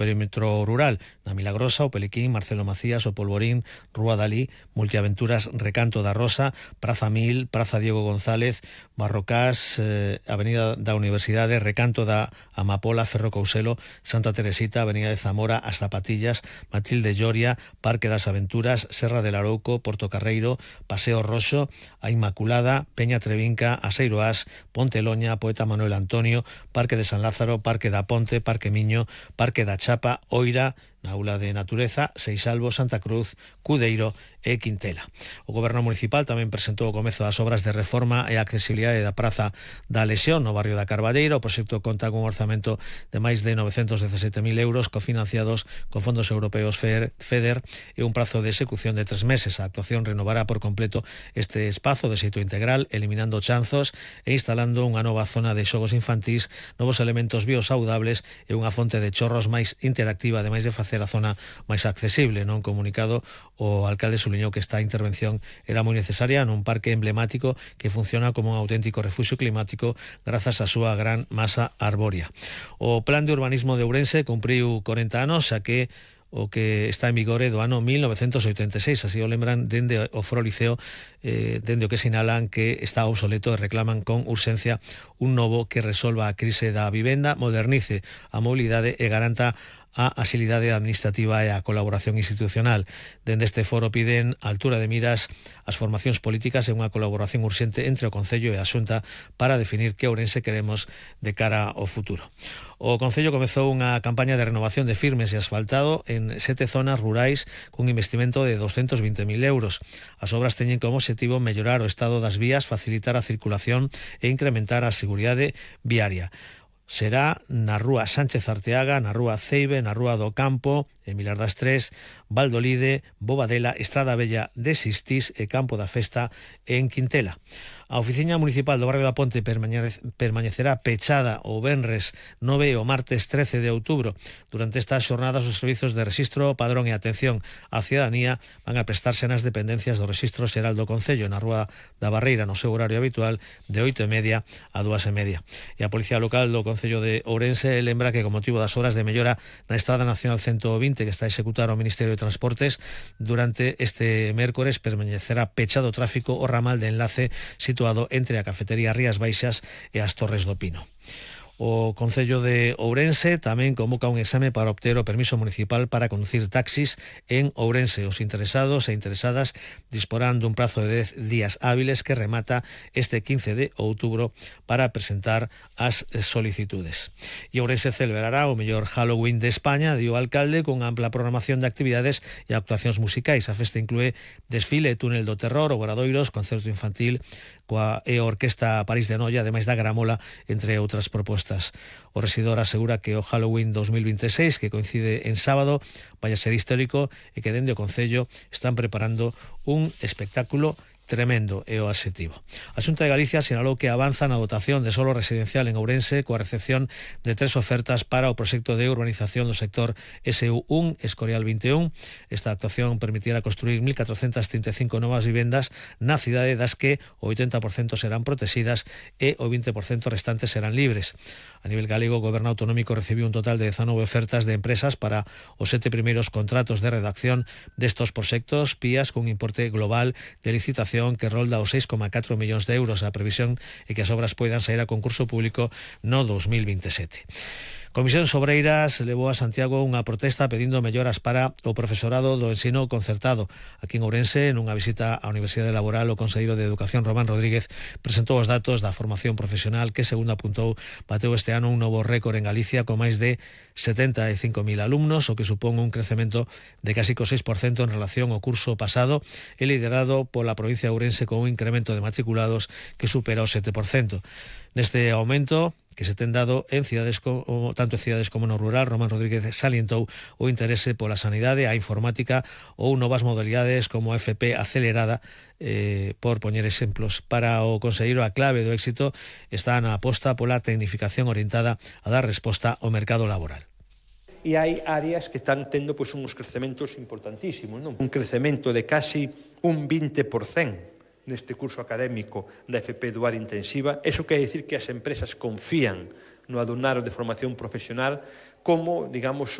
perímetro rural, na Milagrosa, o Peliquín, Marcelo Macías, o Polvorín, Rúa Dalí, Multiaventuras, Recanto da Rosa, Praza Mil, Praza Diego González, Barrocás, Avenida da Universidade, Recanto da Amapola, Ferro Couselo, Santa Teresita, Avenida de Zamora, As Zapatillas, Matilde Lloria, Parque das Aventuras, Serra del Arouco, Porto Carreiro, Paseo Roxo, A Inmaculada, Peña Trevinca, Aseiro As, Ponte Loña, Poeta Manuel Antonio, Parque de San Lázaro, Parque da Ponte, Parque Miño, Parque da Chapa, Oira, na Aula de Natureza, Seisalvo, Santa Cruz, Cudeiro e Quintela. O Goberno Municipal tamén presentou o comezo das obras de reforma e accesibilidade da Praza da Lesión no barrio da Carballeira. O proxecto conta con un orzamento de máis de 917.000 euros cofinanciados con fondos europeos FEDER e un prazo de execución de 3 meses. A actuación renovará por completo este espazo de xeito integral, eliminando chanzos e instalando unha nova zona de xogos infantís, novos elementos biosaudables e unha fonte de chorros máis interactiva, ademais de facer a zona máis accesible. Non comunicado, o alcalde subliñou que esta intervención era moi necesaria nun parque emblemático que funciona como un auténtico refuxio climático grazas á súa gran masa arbórea. O Plan de Urbanismo de Ourense cumpriu 40 anos, xa que o que está en vigor é do ano 1986, así o lembran dende o Foro Liceo, dende o que sinalan que está obsoleto e reclaman con urxencia un novo que resolva a crise da vivenda, modernice a mobilidade e garanta a axilidade administrativa e a colaboración institucional. Dende este foro piden a altura de miras as formacións políticas e unha colaboración urxente entre o Concello e a Xunta para definir que Ourense queremos de cara ao futuro. O Concello comezou unha campaña de renovación de firmes e asfaltado en 7 zonas rurais cun investimento de 220.000 euros. As obras teñen como obxectivo mellorar o estado das vías, facilitar a circulación e incrementar a seguridade viaria. Será na Rúa Sánchez Arteaga, na Rúa Ceibe, na Rúa do Campo, en Vilar das Tres, Valdolide, Bobadela, Estrada Bella de Sistís e Campo da Festa en Quintela. A Oficina Municipal do Barrio da Ponte permanecerá pechada o venres 9 e o martes 13 de outubro. Durante estas xornadas, os servizos de rexistro, padrón e atención á cidadanía van a prestarse nas dependencias do Rexistro Xeral do Concello, na Rúa da Barreira, no seu horario habitual, de 8:30 a 2:30. E a Policía Local do Concello de Ourense lembra que, con motivo das obras de mellora na Estrada Nacional 120 que está a executar o Ministerio de Transportes, durante este mércores permanecerá pechado o tráfico o ramal de enlace situado entre a cafetería Rías Baixas e as Torres do Pino. O Concello de Ourense tamén convoca un exame para obter o permiso municipal para conducir taxis en Ourense. Os interesados e interesadas disporán dun prazo de 10 días hábiles que remata este 15 de outubro para presentar as solicitudes. E Ourense celebrará o mellor Halloween de España, dio o alcalde, con ampla programación de actividades e actuacións musicais. A festa inclúe desfile, túnel do terror, obradoiros, concerto infantil coa Orquesta París de Noia, ademais da gramola, entre outras propostas. O rexidor asegura que o Halloween 2026, que coincide en sábado, vai a ser histórico e que dende o Concello están preparando un espectáculo tremendo, é o adxetivo. A Xunta de Galicia sinalou que avanza na dotación de solo residencial en Ourense coa recepción de 3 ofertas para o proxecto de urbanización do sector SU1 Escorial 21. Esta actuación permitirá construir 1.435 novas vivendas na cidade, das que o 80% serán protegidas e o 20% restantes serán libres. A nivel galego, o Goberno Autonómico recibiu un total de 19 ofertas de empresas para os 7 primeiros contratos de redacción destos proxectos, PIAs, cun importe global de licitación que rolda os 6,4 millóns de euros. A previsión é que as obras poidan sair a concurso público no 2027. Comisións Obreiras levou a Santiago unha protesta pedindo melloras para o profesorado do ensino concertado. Aquí en Ourense, nunha visita á Universidade Laboral, o conselleiro de Educación, Román Rodríguez, presentou os datos da formación profesional que, segundo apuntou, bateu este ano un novo récord en Galicia con máis de 75.000 alumnos, o que supón un crecemento de casi co 6% en relación ao curso pasado, e liderado pola provincia de Ourense con un incremento de matriculados que supera o 7%. Neste aumento que se ten dado en cidades tanto en cidades como no rural, Román Rodríguez salientou o interese pola sanidade, a informática ou novas modalidades como a FP acelerada, por poñer exemplos. Para o conselleiro, a clave do éxito está na aposta pola tecnificación orientada a dar resposta ao mercado laboral. E hai áreas que están tendo uns crecementos importantísimos, non? Un crecemento de casi un 20% neste curso académico da FP Dual Intensiva. Eso quer dicir que as empresas confían no alumnado de formación profesional como, digamos,